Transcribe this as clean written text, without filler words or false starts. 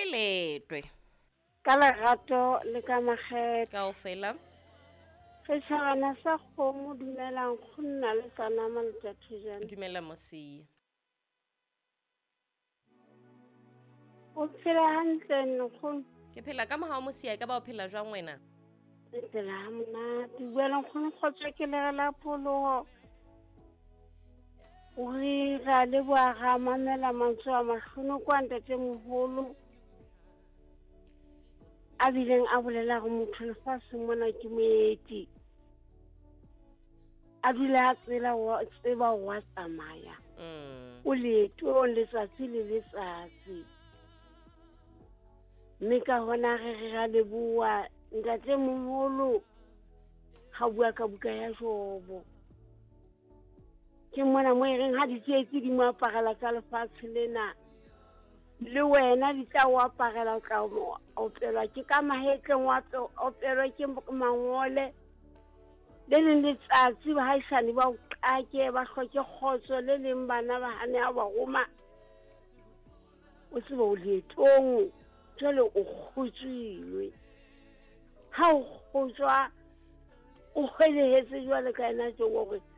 Kae letwe? Ka lerato le ka makgethe. Kaofela. Setšhabana sa kgomo dumelang go nna le sa nama le tša thejana. Dumela Mosia. O phela hantle nkgono? Ke phela ka mohau Mosia, e ka ba o phela jwang wena? Ke phela ha monate. Bua le nkgono kgotso ke lere la pholoho. O re ra leboha ra mamela mantswe a mahlonoko a ntatemoholo a bileng a bolela gore motho lefatsheng mona ke moeti. A dula a tsela wa tseba wa tsamaya. O leetong letsatsi le letsatsi. Mme ka hona re re ra leboha ntatemoholo ha bua ka buka ya Jobo. Ke mona mo e reng ha ditsietsi di mo aparela tsa lefatshe lena, le wena di tla o aparela, o tla opelwa ke ka mahetleng, wa opelwa ke mangole. Le leng letsatsi bahaisane ba o qake, ba hloke kgotso, le leng bana ba hane ha ba roma. O tsebe o leetong, jwale o kgotswilwe. Ha o kgotswa, o kgwelehetse jwale ka yena Jobo hore